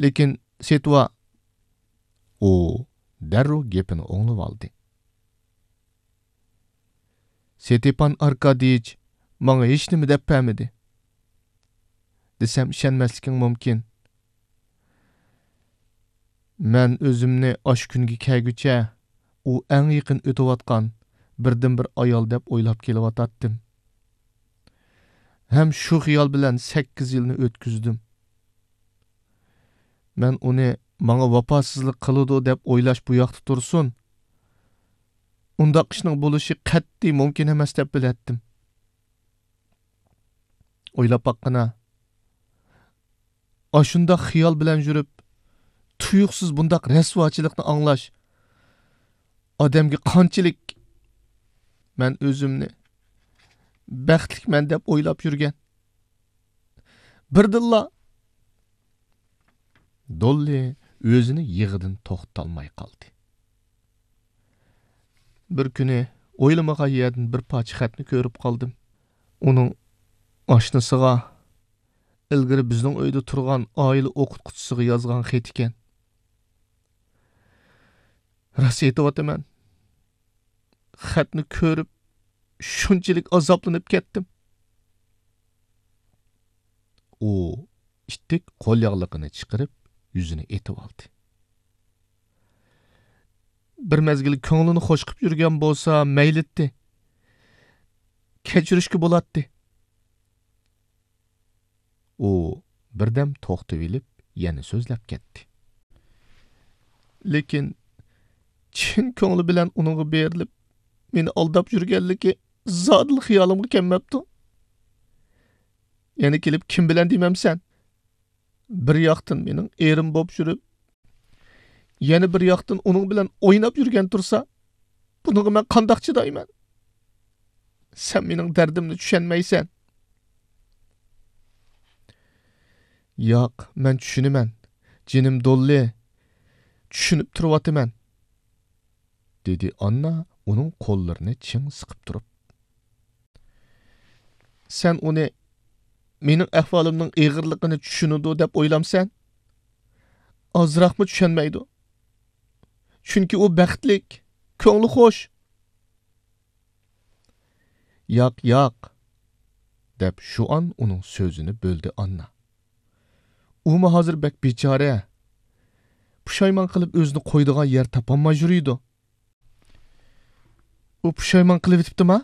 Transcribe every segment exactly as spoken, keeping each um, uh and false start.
لېكىن سېتىۋا. ئۇ دەررۇ گېپىنى ئوڭلىۋالدى. ستېپان ئاركاديېچ ماڭا ھېچنېمە دەپ بەرمىدى دېسەم، ئىشەنمەسلىكىڭ مۇمكىن. مەن ئۆزۈمنى ئاشۇ كۈنگە كەلگۈچە ئۇ ئەڭ يېقىن ئۆتۈۋاتقان بىردىنبىر ئايال دەپ ئويلاپ كېلىۋاتاتتىم. ھەم شۇ خىيال بىلەن سەككىز يىلنى ئۆتكۈزدۈم. مەن ئۇنى ماڭا ۋاپاسىزلىق قىلىدۇ دەپ ئويلاش بۇ ياقتا تۇرسۇن، ئۇنداق ئىشنىڭ بولۇشى قەتئىي مۇمكىن ئەمەس دەپ بىلەتتىم. ئويلاپ باققىنا، ئاشۇنداق خىيال بىلەن يۈرۈپ، تۇيۇقسىز بۇنداق رەسۋاچىلىقنى ئاڭلاش ئادەمگە قانچىلىك، مەن ئۆزۈمنى بەختلىكمەن دەپ ئويلاپ يۈرگەن. بىردىنلا دوللى ئۆزىنى يىغىدىن توختىتالماي قالدى. بىر كۈنى ئويلىمىغان يەردىن بىر پارچە خەتنى كۆرۈپ قالدىم. ئۇنىڭ ئاشنىسىغا، ئىلگىرى بىزنىڭ ئۆيدە تۇرغان ئائىلە ئوقۇتقۇچىسىغا يازغان خېتى ئىكەن. راست ئېيتىۋاتىمەن. خەتنى كۆرۈپ، شۇنچىلىك ئازابلىنىپ كەتتىم. ئۇ ئىتتىك قول ياغلىقىنى چىقىرىپ، يۈزىنى ئېتىۋالدى. بىر مەزگىل كۆڭلىنى خوش قىلىپ يۈرگەن بولسا مەيلىتتى. كەچۈرۈشكە بولاتتى. ئۇ بىردەم توختىۋېلىپ، يەنە سۆزلەپ كەتتى. لېكىن چىن كۆڭلى بىلەن ئۇنىڭغا بېرىلىپ، مېنى ئالداپ يۈرگەنلىكى زادىلا خىيالىمغا كەلمەپتۇ. يەنە كېلىپ كىم بىلەن دېمەمسەن؟ بىر ياقتىن مېنىڭ ئېرىم بوپ يۈرۈپ، يەنە بىر ياقتىن ئۇنىڭ بىلەن ئويناپ يۈرگەن تۇرسا، بۇنىڭغا مەن قانداق چىدايمەن؟ سەن مېنىڭ دەردىمنى چۈشەنمەيسەن. ياق، مەن چۈشىنىمەن، جېنىم دوللى، چۈشىنىپ تۇرۇۋاتىمەن، دېدى ئاننا ئۇنىڭ قوللىرىنى چىڭ سىقىپ تۇرۇپ. سەن ئۇنى مېنىڭ ئەھۋالىمنىڭ ئېغىرلىقىنى چۈشىنىدۇ دەپ ئويلامسەن؟ ئازراقمۇ چۈشەنمەيدۇ. چۈنكى ئۇ بەختلىك، كۆڭلى خوش. ياق، ياق، دەپ شۇئان ئۇنىڭ سۆزىنى بۆلدى ئاننا. ئۇمۇ ھازىر بەك بىچارە. پۇشايمان قىلىپ ئۆزىنى قويىدىغان يەر تاپالماي يۈرىدۇ. ئۇ پۇشايمان قىلىۋېتىپتىما؟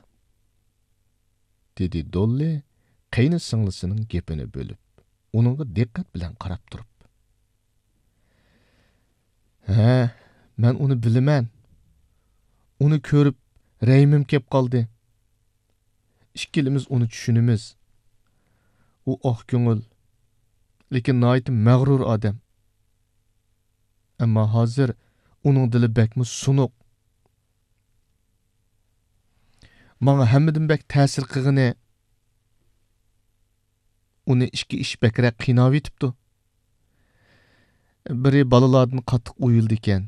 دېدى دوللى قېينى سىڭلىسىنىڭ گېپىنى بۆلۈپ، ئۇنىڭغا دىققەت بىلەن قاراپ تۇرۇپ. ھە، مەن ئۇنى بىلىمەن. ئۇنى كۆرۈپ رەھىمىم كەپ قالدى. ئىككىلىمىز ئۇنى چۈشىنىمىز. ئۇ ئاق كۆڭۈل، لېكىن ناھايىتى مەغرۇر ئادەم. ئەمما ھازىر ئۇنىڭ دىلى بەكمۇ سۇنۇق. ماڭا ھەممىدىن بەك تەسىر قىلغىنى، ئۇنى ئىككى ئىش بەكرەك قىيناۋېتىپتۇ. بىرى بالىلاردىن قاتتىق ئويۇلىدىكەن.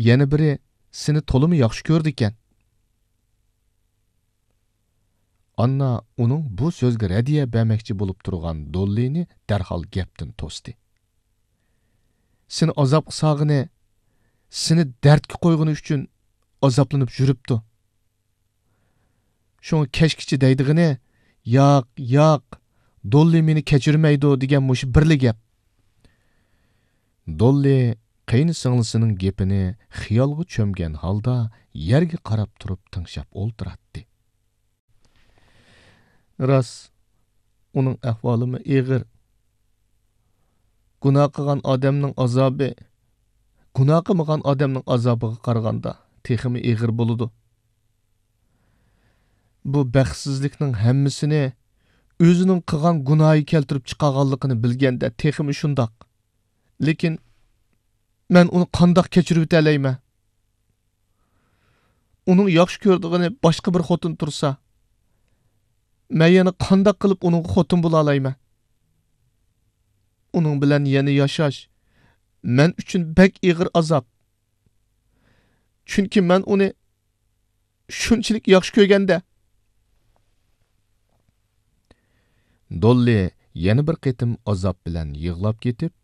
يەنە بىرى سېنى تولىمۇ ياخشى كۆرىدىكەن. ئاننا ئۇنىڭ بۇ سۆزىگە رەددىيە بەرمەكچى بولۇپ تۇرغان دوللىنى دەرھال گەپتىن توستى. سېنى ئازابقا سالغىنى، سېنى دەردكە قويغىنى ئۈچۈن ئازابلىنىپ يۈرۈپتۇ. شۇڭا كەچكىچە دەيدىغىنى، «ياق، ياق، دوللى مېنى كەچۈرمەيدۇ» دېگەن مۇشۇ بىرلا گەپ. دوللى قېينى سىڭلىسىنىڭ گېپىنى خىيالغا چۆمگەن ھالدا يەرگە قاراپ تۇرۇپ تىڭشاپ ئولتۇراتتى. راست، ئۇنىڭ ئەھۋالىمۇ ئېغىر. گۇناھ قىلغان ئادەمنىڭ ئازابى گۇناھ قىلمىغان ئادەمنىڭ ئازابىغا قارىغاندا تېخىمۇ ئېغىر بولىدۇ. بۇ بەختسىزلىكنىڭ ھەممىسىنى ئۆزىنىڭ قىلغان گۇناھى كەلتۈرۈپ چىقارغانلىقىنى بىلگەندە تېخىمۇ شۇنداق. لېكىن مەن ئۇنى قانداق كەچۈرۈۋېتەلەيمەن؟ ئۇنىڭ ياخشى كۆرىدىغىنى باشقا بىر خوتۇن تۇرسا، مەن يەنە قانداق قىلىپ ئۇنىڭغا خوتۇن بولالايمەن؟ ئۇنىڭ بىلەن يەنە ياشاش مەن ئۈچۈن بەك ئېغىر ئازاب. چۈنكى مەن ئۇنى شۇنچىلىك ياخشى كۆرگەندە. دوللى يەنە بىر قېتىم ئازاب بىلەن يىغلاپ كېتىپ،